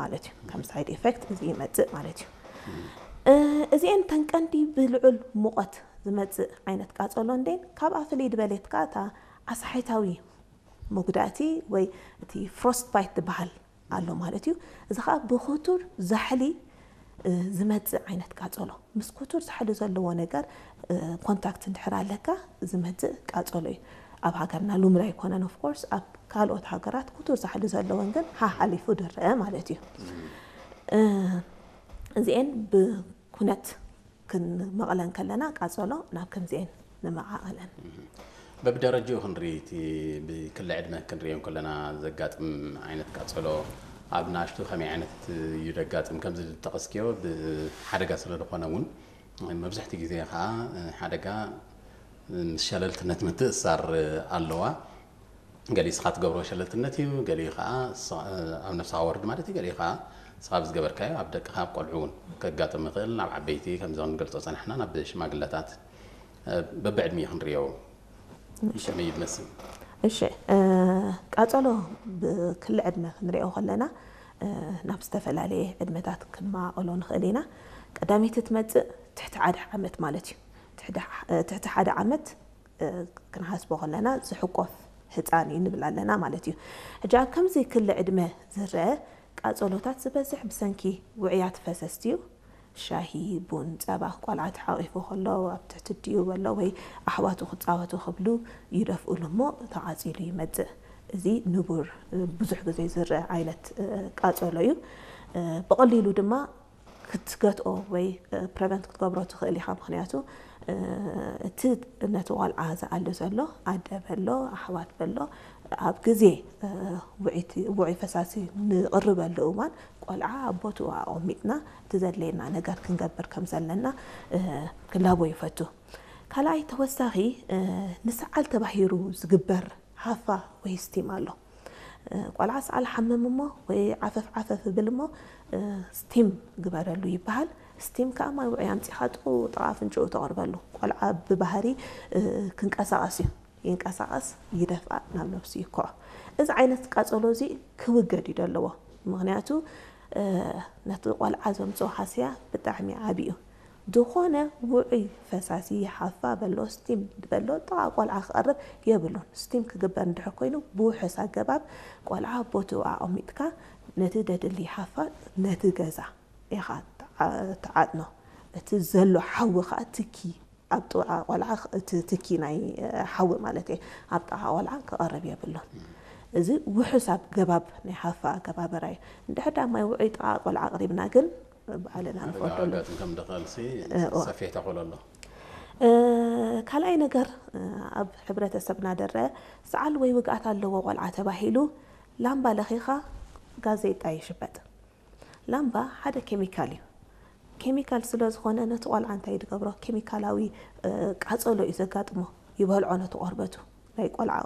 ማለት እዩ። ከም ሳይድ ኢፌክት እዚ ይመጽእ ማለት እዩ። እዚኤን ተን ቀንዲ ብልዑል ሙቐት ዝመጽእ ዓይነት ቃጸሎ እንዴን ካብኣ ፍልይ ድበሌት ከኣ እታ ኣስሓይታዊ መጉዳእቲ ወይ እቲ ፍሮስት ባይት ዝበሃል ኣሎ ማለት እዩ። እዚ ከዓ ብክቱር ዛሕሊ ዝመፅእ ዓይነት ቃፀሎ። ምስ ክቱር ዛሕሊ ዘለዎ ነገር ኮንታክት እንድሕር ኣለካ ዝመፅእ ቃፀሎ እዩ። ኣብ ሃገርና ልሙድ ኣይኮነን። ኦፍኮርስ ኣብ ካልኦት ሃገራት ክቱር ዛሕሊ ዘለወን ግን ሓሓሊፉ ድረአ ማለት እዩ። እዚኤን ብኩነት ክንመቐለን ከለና ቃፀሎ ናብ ከምዚኤን ንመዓቐለን። በብደረጅኡ ክንርኢ እቲ ብክሊ ዕድመ ክንሪኦ ከለና ዘጋጥም ዓይነት ቃፀሎ ኣብ ንኣሽቱ ከመይ ዓይነት እዩ ዘጋጥም? ከምዚ ዝጠቐስክዮ ብሓደጋ ስለ ዝኾነ እውን መብዛሕትኡ ግዜ ከዓ ሓደጋ ምስ ሸለልትነት ምትእስሳር ኣለዋ። ገሊኡ ንስኻ ትገብሮ ሸለልትነት እዩ፣ ገሊኡ ከዓ ኣብ ነፍስኻ ወርድ ማለት እዩ፣ ገሊኡ ከዓ ንስኻ ብዝገበርካዮ ኣብ ደቅኻ ኣብ ቆልዑ እውን ከጋጥም ይኽእል፣ ናብ ዓበይቲ ከምዚ ክንገልፆ ፀናሕና ናብ ሽማግለታት በብዕድሚኡ ክንሪኦ ከመይ እዩ ዝመስል? እሺ፣ ቃፀሎ ብክሊ ዕድመ ክንሪኦ ከለና ናብ ዝተፈላለየ ዕድመታት ክንመቓቐሎ ንኽእል ኢና። ቀዳመይቲ ትመፅእ ትሕቲ ሓደ ዓመት ማለት እዩ። ትሕቲ ሓደ ዓመት ክንሓስቦ ከለና ዝሕቆፍ ህፃን እዩ ንብል ኣለና ማለት እዩ። ሕጂ ኣብ ከምዚ ክሊ ዕድመ ዝረአ ቃፀሎታት ዝበዝሕ ብሰንኪ ውዑያት ፈሰስቲ እዩ። ሻሂ፣ ቡን፣ ፀባ ቆልዓ ተሓቒፉ ከሎ ኣብ ትሕቲ ኣዲኡ በሎ ወይ ኣሕዋቱ ክፃወቱ ክብሉ ይደፍእሉ እሞ ተቓፂሉ ይመፅእ። እዚ ንቡር ብዙሕ ግዜ ዝረአ ዓይነት ቃፀሎ እዩ። ብቐሊሉ ድማ ክትገትኦ ወይ ፕረቨንት ክትገብሮ ትኽእል ኢኻ። ምኽንያቱ እቲ ነቲ ቆልዓ ዝኣሊ ዘሎ ኣደ በሎ ኣሕዋት በሎ ኣብ ግዜ ውዑይ ፈሳሲ ንቕርበሉ እዋን ቆልዓ ኣብ ቦትኡ ኣቐሚጥና እቲ ዘድለየና ነገር ክንገብር ከም ዘለና ክላቦ ይፈቱ። ካልኣይ ተወሳኺ ንሰዓል ተባሂሩ ዝግበር ሃፋ ወይ ስቲም ኣሎ። ቆልዓ ሰዓል ሓምም እሞ ወይ ዓፈፍ ዓፈፍ ብል እሞ ስቲም ግበረሉ ይበሃል። ስቲም ከዓ ማይ ውዑይ ኣምፂኻ ጥቑ ጥቓ ኣፍንጭኡ ተቕርበሉ። ቆልዓ ብባህሪ ክንቀሳቐስ እዩ። ይንቀሳቐስ፣ ይደፍኣ፣ ናብ ነብሱ ይኩዖ። እዚ ዓይነት ቃፀሎ እዚ ክውገድ እዩ ዘለዎ። ምኽንያቱ ነቲ ቆልዓ ዘምፅኦ ሃስያ ብጣዕሚ ዓብዩ። ዝኾነ ውዑይ ፈሳሲ ሓፋ በሎ ስቲም በሎ ጥቓ ቆልዓ ክቐርብ የብሉን። ስቲም ክግበር እንድሕር ኮይኑ ብውሑስ ኣገባብ ቆልዓ ቦትኡ ኣቐሚጥካ ነቲ ደድሊ ሓፋ ነቲ ገዛ ኢኻ ትዓጥኖ። እቲ ዘሎ ሓዊ ከዓ ትኪ ኣብ ጥቓ ቆልዓ እቲ ትኪ ናይ ሓዊ ማለት እየ ኣብ ጥቓ ቆልዓ ክቐርብ የብሉን። እዚ ውሑስ ኣገባብ ናይ ሓፋ ኣገባብራ እዩ። እንድሕር ዳ ማይ ውዑይ ጥቓ ቆልዓ ኣቕሪብና ግን ባዕልና ንፈርደሉ። ከም ደኸልሲ ሰፊሕ ተኽእሎ ኣሎ። ካልኣይ ነገር ኣብ ሕብረተሰብና ደረ ሰዓል ወይ ውግኣት ኣለዎ ቆልዓ ተባሂሉ ላምባ ለኺኻ ጋዜጣ ይሽበጥ። ላምባ ሓደ ኬሚካል እዩ። ኬሚካል ስለ ዝኾነ ነቲ ቆልዓ እንታይ ድገብሮ? ኬሚካላዊ ቃፀሎ እዩ ዘጋጥሞ። ይበልዖ ነቲ ቆርበቱ። ናይ ቆልዓ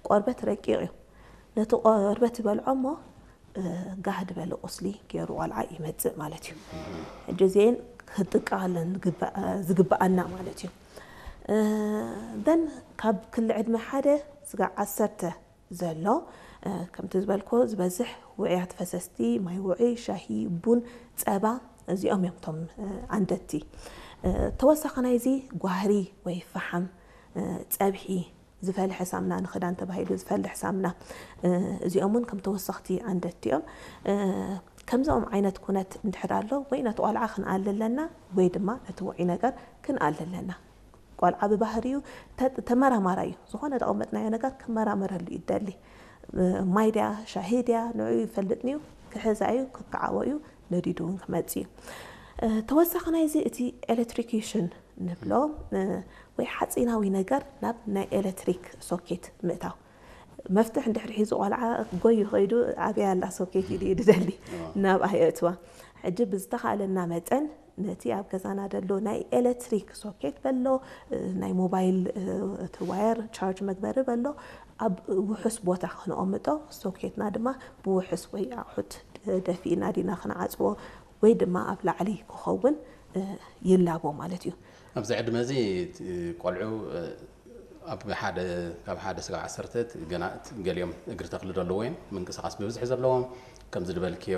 ቆርበት ረቂቕ እዩ። ነቲ ቆርበት ይበልዖ እሞ ጋህ ዝበለ ቁስሊ ገይሩ ቆልዓ ይመፅእ ማለት እዩ። ሕጂ እዚኤን ክጥቀቐለን ዝግበኣና ማለት እዩ። ደን ካብ ክሊ ዕድመ ሓደ ስጋዕ ዓሰርተ ዘሎ ከምቲ ዝበልኮ ዝበዝሕ ውዕያት ፈሰስቲ ማይ ውዑይ፣ ሻሂ፣ ቡን፣ ፀባ እዚኦም እዮም እቶም ኣንደድቲ። ተወሳኺ ናይዚ ጓህሪ ወይ ፈሓም፣ ፀብሒ፣ ዝፈልሐ ሳምና ንኽዳን ተባሂሉ ዝፈልሕ ሳምና እዚኦም እውን ከም ተወሰኽቲ ኣንደድቲ እዮም። ከምዚኦም ዓይነት ኩነት እንድሕር ኣሎ ወይ ነቲ ቆልዓ ክንኣሊ ኣለና ወይ ድማ ነቲ ውዑይ ነገር ክንኣሊ ኣለና። ቆልዓ ብባህሪኡ ተመራማራይ እዩ። ዝኾነ ተቐመጥናዮ ነገር ክመራመረሉ ይደሊ። ማይ ድያ ሻሂ ድያ ንዑ ይፈልጥን እዩ። ክሕዛ እዩ ክከዓቦ እዩ ነዲዱ እውን ክመፅእ እዩ። ተወሳኺ ናይዚ እቲ ኤሌክትሪኪሽን ንብሎ ወይ ሓፂናዊ ነገር ናብ ናይ ኤሌክትሪክ ሶኬት ምእታው። መፍትሕ እንድሕር ሒዙ ቆልዓ ጎዩ ከይዱ ኣብያ ኣላ ሶኬት ኢሉ እዩ ድደሊ ናብኣ የእትዋ። ሕጂ ብዝተኻእለና መጠን ነቲ ኣብ ገዛና ደሎ ናይ ኤሌክትሪክ ሶኬት በሎ ናይ ሞባይል እቲ ዋየር ቻርጅ መግበሪ በሎ ኣብ ውሑስ ቦታ ክነቐምጦ ሶኬትና ድማ ብውሑስ ወይ ኣቑሑት ደፊእና ዲና ክንዓፅዎ ወይ ድማ ኣብ ላዕሊ ክኸውን ይላቦ ማለት እዩ። ኣብዚ ዕድመ እዚ ቆልዑ ኣብ ሓደ ካብ ሓደ ስጋብ ዓሰርተ ገና ገሊኦም እግሪ ተኽሊ ዘለዎም እዮም ምንቅስቃስ ብብዝሒ ዘለዎም ከምዚ ዝበልክዮ